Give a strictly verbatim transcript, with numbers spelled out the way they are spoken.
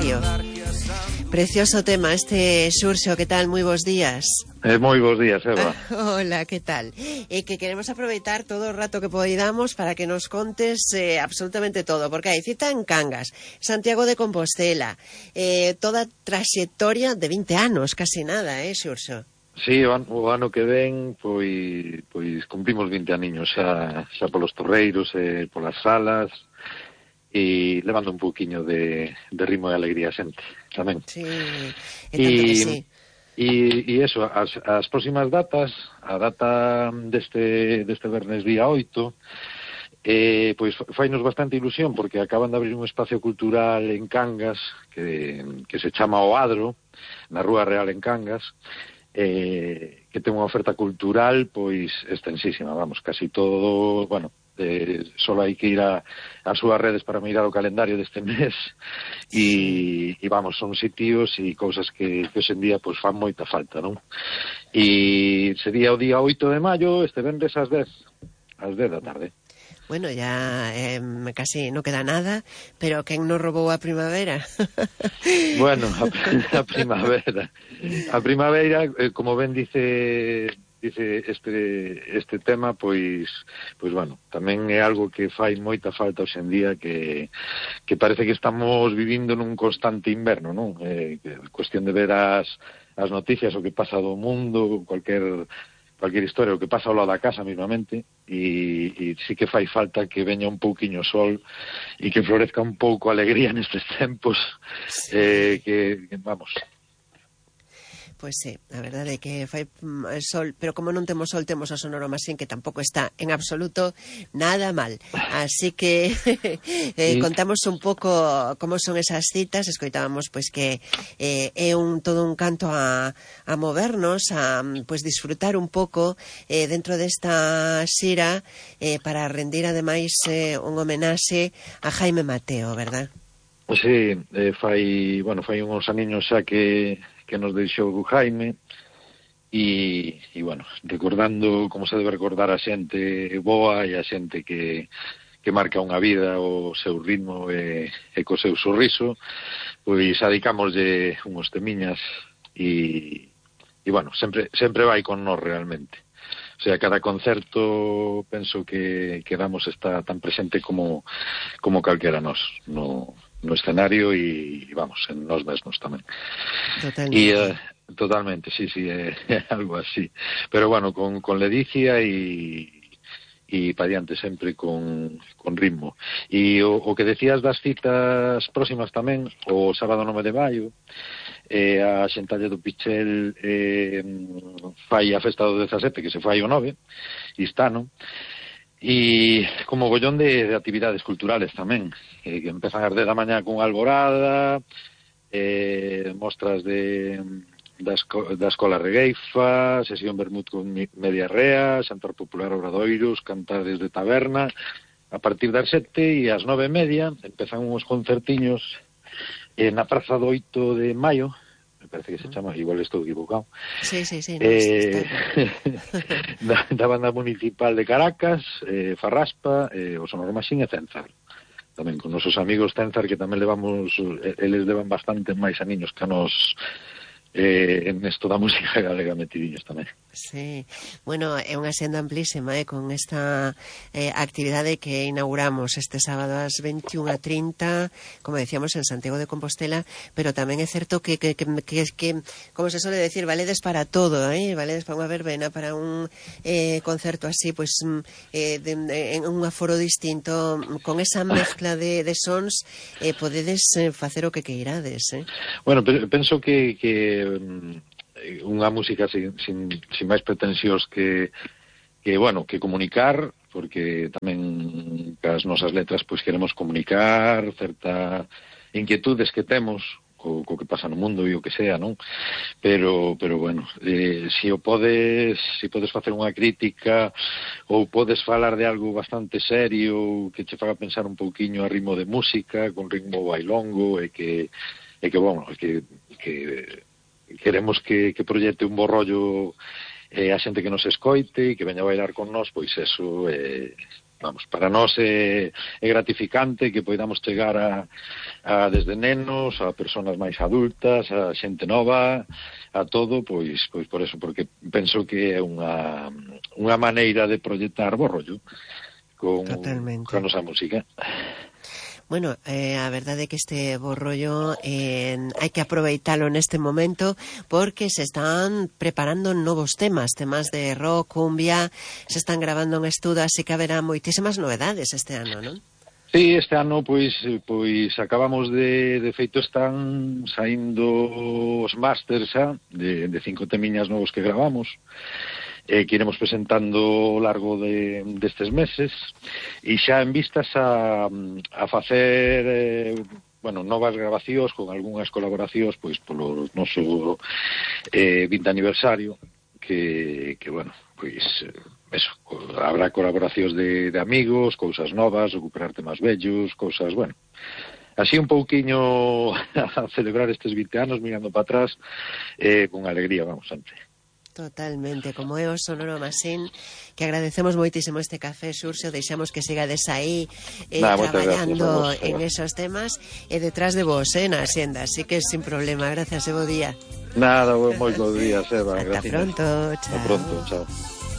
silencio. Precioso tema este, Xurxo, que tal? Moi bons días. Eh, moi bons días, Eva. Hola, que tal? E eh, que queremos aproveitar todo o rato que podamos para que nos contes eh, absolutamente todo, porque hai cita en Cangas, Santiago de Compostela, eh, toda traxectoria de vinte anos, casi nada, eh, Xurxo? Sí, o ano, o ano que ven, pois, pois cumprimos vinte aniños xa, xa polos torreiros e polas salas, e levando un pouquiño de, de ritmo e alegría xente, tamén. Sí, e tanto que sí. E, e eso, as, as próximas datas, a data deste, deste vernes día oito, eh, pois fainos bastante ilusión, porque acaban de abrir un espacio cultural en Cangas, que, que se chama O Adro, na Rúa Real en Cangas, eh, que ten unha oferta cultural, pois, extensísima, vamos, casi todo, bueno, Eh, solo hai que ir a, a súas redes para mirar o calendario deste mes e, e vamos, son sitios e cousas que, que hoxe en día pues, fan moita falta, non? E sería o día oito de maio, este venres ás dez ás dez da tarde. Bueno, ya eh, casi no queda nada, pero quen nos robou a primavera? Bueno, a, a primavera a primavera, eh, como ben dice dice este este tema, pois pois bueno, tamén é algo que fai moita falta hoxe en día, que que parece que estamos vivindo nun constante inverno, non? Eh, cuestión de ver as as noticias, o que pasa do mundo, cualquier cualquier historia, o que pasa ao lado da casa mismamente, e, e sí que fai falta que veña un pouquiño sol e que florezca un pouco a alegría nestes tempos, sí. eh, que, que vamos. Pois sí, a verdade é que fai sol, pero como non temos sol, temos a Sonoro Masín, que tampouco está en absoluto nada mal. Así que eh, contamos un pouco como son esas citas, escoitábamos pois que eh, é un todo un canto a, a movernos, a pois disfrutar un pouco eh, dentro desta xira eh, para rendir ademais eh, un homenaxe a Jaime Mateo, verdad? Sí, eh, fai, bueno, fai uns aniños xa que que nos deixou Jaime e, e bueno, recordando como se debe recordar a xente boa e a xente que, que marca unha vida o seu ritmo e, e co seu sorriso, pois adicámoslle unhos temiñas e, e bueno, sempre, sempre vai con nós realmente. O sea, cada concerto penso que, que damos está tan presente como, como calquera nós no, no escenario e, vamos, en nós mesmos tamén. Totalmente. E, uh, totalmente, sí, sí, é, é algo así. Pero, bueno, con, con ledicia e e pa diante sempre con, con ritmo. E o, o que decías das citas próximas tamén, o sábado nove de maio, eh, a Xentalle do Pichel eh, fai a festa do dezasete, que se fai o nove, e está, non? E como gollón de, de actividades culturales tamén, eh, que empezan ás dez da mañá con alborada, eh, mostras de da, esco, da Escola Regueifa, sesión vermut con media rea, xantar popular obradoiros, cantares de taberna. A partir das sete e ás nove e media empezan uns concertiños eh, na Praza do oito de maio, me parece que se chama, igual estou equivocado. Sí, sí, sí. No, eh, da, da banda municipal de Caracas, eh, Farraspa, eh, o Sonoro Masín e Cenzar. Tamén con nosos amigos Cenzar, que tamén levamos, eles levan bastante máis aniños que a nos eh, en esto da música galega metidiños tamén. Sí, bueno, é unha senda amplísima, eh, con esta eh, actividade que inauguramos este sábado ás veintiunha e trinta, como decíamos, en Santiago de Compostela, pero tamén é certo que, que, que, que, que como se suele decir, valedes para todo, eh? Valedes para unha verbena, para un eh, concerto así, pues, eh, de, de, en un aforo distinto, con esa mezcla de, de sons, eh, podedes eh, facer o que queirades, eh? Bueno, penso que, que unha música sin, sin, sin máis pretensións que, que, bueno, que comunicar, porque tamén cas nosas letras pois queremos comunicar certa inquietudes que temos co, co que pasa no mundo e o que sea, non? Pero, pero bueno, eh, se o podes, se podes facer unha crítica ou podes falar de algo bastante serio que che faga pensar un pouquiño a ritmo de música, con ritmo bailongo e que, e que bueno, que, que queremos que, que proyecte un bo rollo eh, a xente que nos escoite e que veña a bailar con nós, pois eso é, vamos, para nós é, é gratificante que poidamos chegar a, a desde nenos, a persoas máis adultas, a xente nova, a todo, pois pois por eso, porque penso que é unha unha maneira de proyectar bo rollo con, con a nosa música. Bueno, eh, a verdade é que este bo rollo eh, hai que aproveitalo neste momento porque se están preparando novos temas, temas de rock, cumbia, se están grabando en estudo, así que haberá moitísimas novedades este ano, non? Sí, este ano, pois, pois acabamos de, de feito, están saindo os másters xa, de, de cinco temiñas novos que gravamos, eh, que iremos presentando ao largo de, destes meses, e xa en vistas a, a facer, eh, bueno, novas grabacións con algunhas colaboracións, pois, polo noso eh, vinte aniversario, que, que bueno, pois, eso, habrá colaboracións de, de amigos, cousas novas, recuperar temas vellos, cousas, bueno, así un pouquiño a celebrar estes vinte anos, mirando para atrás, eh, con alegría, vamos, sempre. Totalmente, como é o Sonoro Masín, que agradecemos moitísimo este café, Xurxo, deixamos que sigades aí eh, nah, traballando gracias, en esos temas e detrás de vos, eh, na Xenda, así que sin problema, gracias e bo día. Nada, moi bo día, Seba. Ata gracias. pronto, chao. Ata pronto, chao.